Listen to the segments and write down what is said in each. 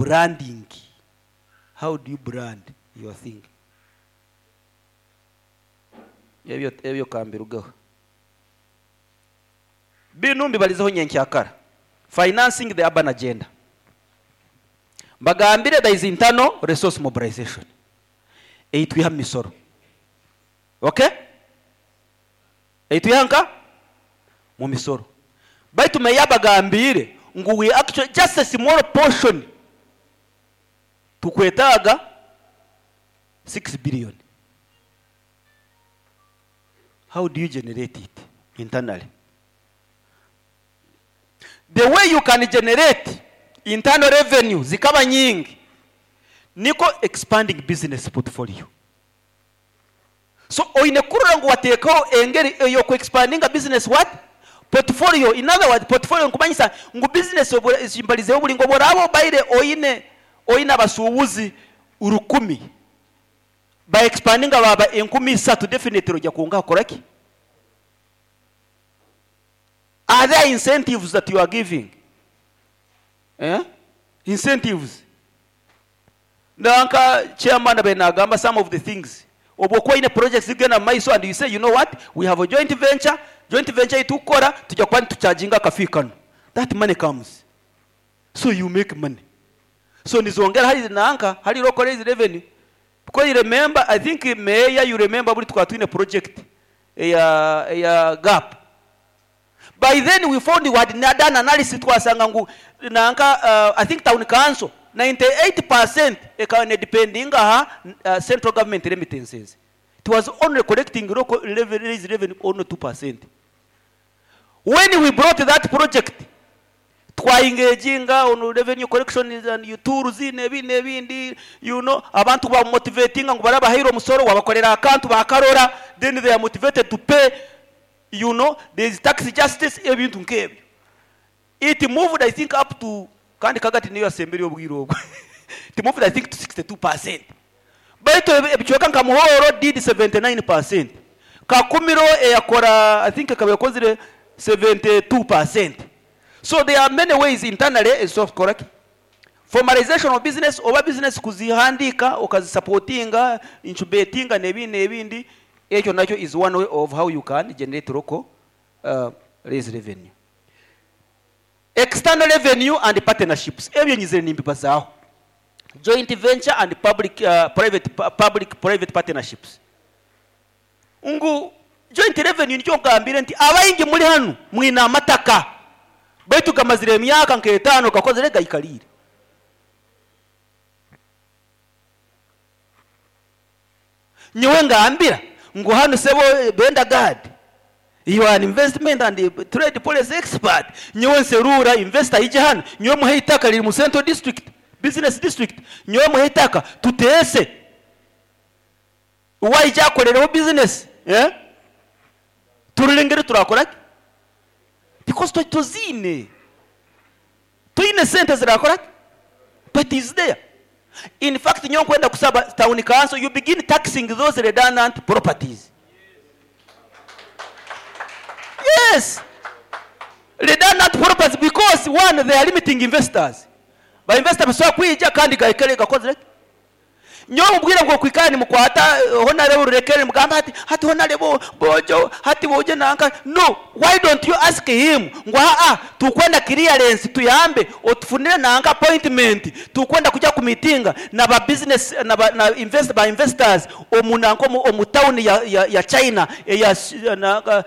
Branding. How do you brand your thing? Ebyo ebyo kambirugeho. Binu mbibalizeho nyenkyakara. Financing the urban agenda. Mbagambire there is internal resource mobilization. Ei twiha mu misoro. Okay? Ei twiha nka? Mu misoro. Baitu meya abagambiire ngu we actually just a small portion tukwetaaga 6 billion. How do you generate it internally? The way you can generate internal revenue zikaba nyingi niko expanding business portfolio. So oine kurora ngu wateekaho engeri ey'oku expandinga business what? Portfolio. In other words, portfolio nikumanyisa ngu business ezi mbalizeho buri ngu obu oraaba obaire oine oine abasuubuzi 1000 ba expandinga baaba 3000, definitely ojja kwongaho kukora ki? Are there incentives that you are giving? Eh? Incentives. Nanka chairman abe nagamba some of the things. Obu okuba oine projects zigenda mu maiso and you say, you know what, we have a joint venture, joint venture ei tukukora tujya kuba nitucharginga akafi kanu. That money comes. So you make money. So nizongera hali nanka hali local revenue. Because you remember, I think mayor, you remember buri twaba twine project eya eya gap. By then we found we had done analysis twasanga ngu nanka I think town council 98% ekaba nedependinga aha central government remittances. It was only collecting local raise revenue only 2%. When we brought that project, twaengaginga on revenue collection and tools n'ebi n'ebindi, abantu bamotivatinga ngu barabahaire omusoro wabakorera akantu bakarora, then they are motivated to pay, there is tax justice, ebintu nk'ebyo. It moved, I think, up to, kandi kagati niyo yasembere obwire obwo. It moved, I think, to 62%. Baitu ebicweka nka Muhoro did 79%. Kakumiro eyakora, I think ekaba ekozire 72%. So there are many ways internally, is so correct. Formalization of business, oba business kuzihandika, okazisupportinga, incubatinga n'ebindi n'ebindi, ekyo nakyo is one way of how you can generate local raise revenue. External revenue and partnerships. Ebyo nyizire nimbibazaaho. Joint venture and public, private, public private partnerships. Ngu joint revenue nikyo ngambire nti abaingi muri hanu mwine amataka baitu gamazire emyaka nk'etaano gakozire gaikalire. Nyowe ngambira ngu hanu sebo Benda Gad, you are an investment and trade policy expert. Nyowe nserura investor ije hano, nyowe muhe itaka riri mu Central District, Business District, nyowe muhe itaka tutese uwayija akorereho business, eh? Tururengere turakora ki? Because tozine tuyine sente zirakora ki? But is there. In fact, nyowe nkwenda kusaba town council, you begin taxing those redundant properties. Yes, redundant properties, because one, they are limiting investors. Ba investor basobola kwija kandi gaikare gakozire. Nyowe mubwire ngo kwikani mukwata honorable rurekere mugamba hati hati honorable bojo hati boje nanka. No, why don't you ask him ngo a tukwenda clearance tuyambe otufunire nanka appointment, tukwenda kujya ku meeting na ba business na ba, na invest ba investors omu nanka omu town ya China ya na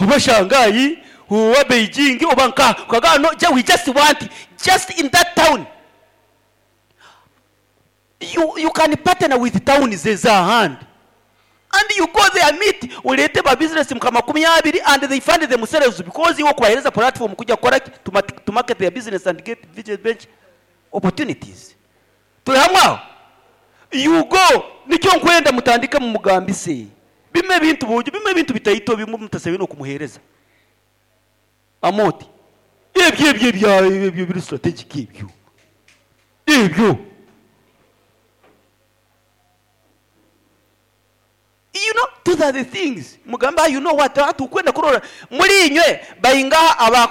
oba Shanghai oba Beijing oba nka kaga. No, we just want just in that town. You can partner with towns ez'ahandi and you go there, meet, ulete ba business mka 20 and they fund themselves because iwo kubahereza platform kujya kukora ki? To market their business and get venture opportunities. Turi hamwe aho? You go, nicyo nkwenda mutandike mu mugambi se bimwe bintu bujo bimwe bintu bitayito bimwe mutasabe no kumuhereza amoti ebyo ebyo ebyo ebyo biri strategic ebyo ebyo. Those are the things mugamba, you know what, atukwenda kurora muri inywe bayingaha.